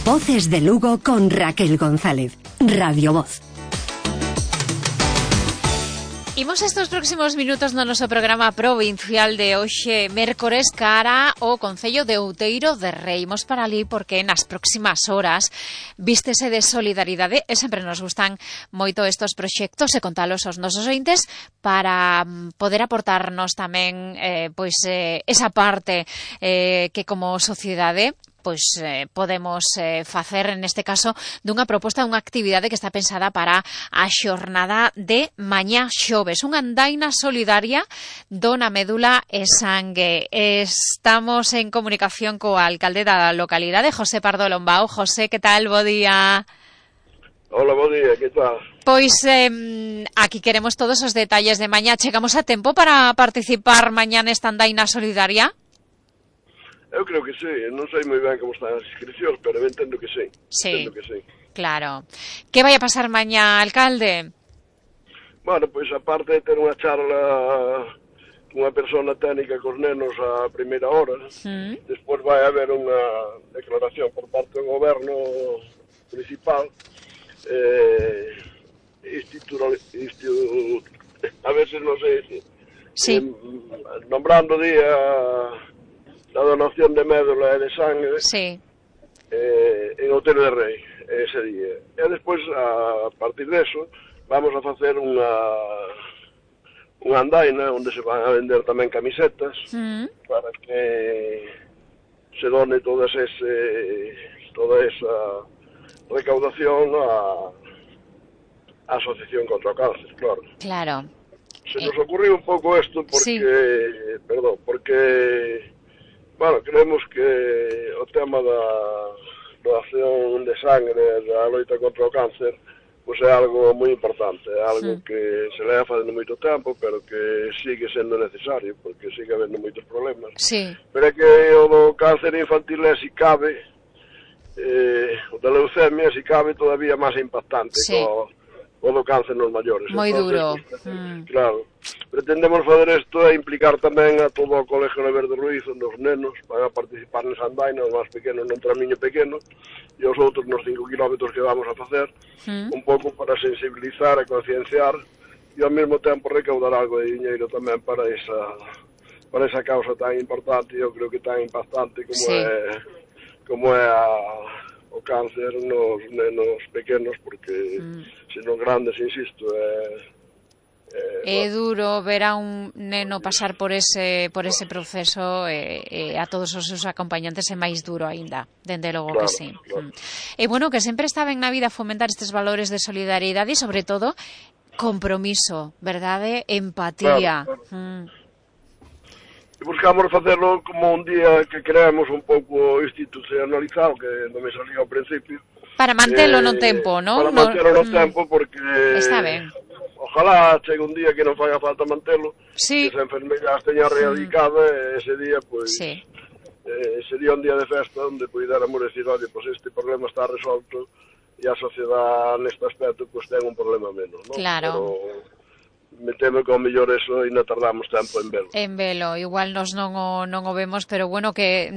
Voces de Lugo con Raquel González. Radio Voz. Imos estes próximos minutos no noso programa provincial de hoxe, mércores, cara ao Concello de Outeiro de Rei. Imos para ali porque nas próximas horas vístese de solidaridade e sempre nos gustan moito estes proxectos e contalos aos nosos ointes para poder aportarnos tamén esa parte que como sociedade podemos facer neste caso dunha proposta, dunha actividade que está pensada para a xornada de mañá xoves, unha andaina solidaria dona médula e sangue. Estamos en comunicación co alcalde da localidade, José Pardo Lombao. José, que tal? Bo día. Hola, bo día, que tal? Pois aquí queremos todos os detalles de mañá. Chegamos a tempo para participar mañá nesta andaina solidaria? Eu creo que sí, non sei moi ben como están as inscripcións, pero eu entendo que sí. Sí, entendo que sí. Claro. Que vai a pasar mañá, alcalde? Bueno, pois aparte de ter unha charla cunha persona técnica cos nenos a primeira hora, despois vai haber unha declaración por parte do goberno municipal a veces non sei dicir, sí. Nombrando día la donación de médula e de sangue, sí, en Outeiro de Rei, ese día. E despois, a partir deso, vamos a facer unha andaina onde se van a vender tamén camisetas para que se done toda esa recaudación á Asociación contra o Cáncer, claro. Claro. Se nos ocurriu un pouco isto porque, bueno, creemos que o tema da donación de sangre, da loita contra o cáncer, pois é algo moi importante, é algo que se leva facendo moito tempo, pero que sigue sendo necesario, porque sigue habendo moitos problemas. Sí. Pero é que o do cáncer infantil é, si cabe, o da leucemia, si cabe, todavía máis impactante, o do cáncer nos maiores. Moi duro. Claro. Pretendemos fazer isto e implicar tamén a todo o Colegio de Verde Ruiz, onde os nenos van a participar nesa andaina, os máis pequenos nun tramiño pequeno, e os outros nos 5 kilómetros que vamos a facer, un pouco para sensibilizar e concienciar, e ao mesmo tempo recaudar algo de diñeiro tamén para esa causa tan importante, eu creo que tan impactante como é o cáncer nos nenos pequenos, porque senón grandes, insisto, é duro ver a un neno pasar por ese proceso e a todos os seus acompañantes é máis duro aínda, dende logo que sí. Claro. E bueno, que sempre está ben na vida fomentar estes valores de solidariedade e sobre todo compromiso, verdade? Empatía. Claro. Buscamos facerlo como un día que creemos un pouco institucionalizado, que non me salía ao principio. Para mantelo no tempo, non? Para mantelo no tempo, porque está ben. Ojalá chegue un día que non faga falta mantelo, sí, que esa enfermedade esteña erradicada, e ese día, pois, sería un día de festa onde puidéramos decir, oye, pois este problema está resolto e a sociedade neste aspecto pois ten un problema menos, non? Claro. Pero me temo que ao mellor eso e non tardamos tempo en velo. En velo, igual nos non o vemos, pero bueno, que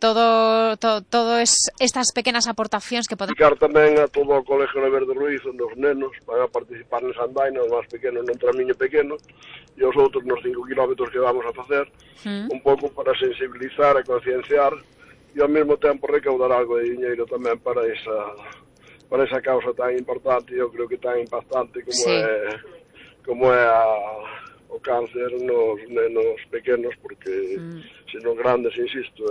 todo estas pequenas aportacións que podemos... Explicar tamén a todo o Colegio de Verde Ruiz, onde os nenos van a participar nesa andaina, os máis pequenos nun tramiño pequeno, e os outros nos 5 kilómetros que vamos a facer, un pouco para sensibilizar e concienciar, e ao mesmo tempo recaudar algo de diñeiro tamén para esa causa tan importante, eu creo que tan impactante como é o cáncer nos nenos pequenos, porque senón grandes, insisto,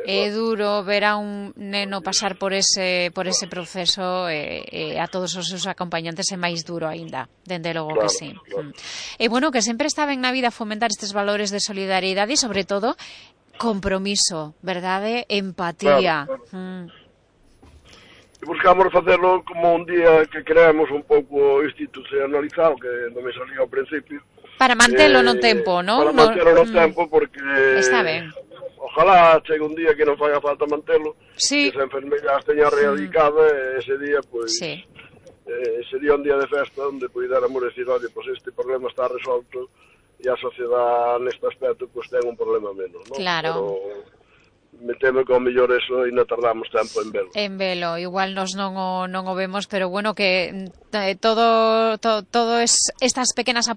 é duro ver a un neno pasar por ese proceso e a todos os seus acompañantes é máis duro aínda, dende logo que sí. Claro. E bueno, que sempre está ben na vida fomentar estes valores de solidariedade e sobre todo compromiso, verdade? Empatía. Claro. Buscamos facerlo como un día que creemos un pouco institucionalizado, que non me salía ao principio. Para mantelo no tempo, non? Para mantelo no tempo, porque... Está ben. Ojalá chegue un día que non faga falta mantelo, que esa enfermedade esteña erradicada, e ese día, pois, sería un día de festa onde puidéramos decir, oye, pois este problema está resolto e a sociedade neste aspecto pois ten un problema menos, non? Claro. Pero me temo que ao mellor eso ainda tardamos tempo en velo. En velo, igual nos non o vemos, pero bueno, que todo estas pequenas aportacións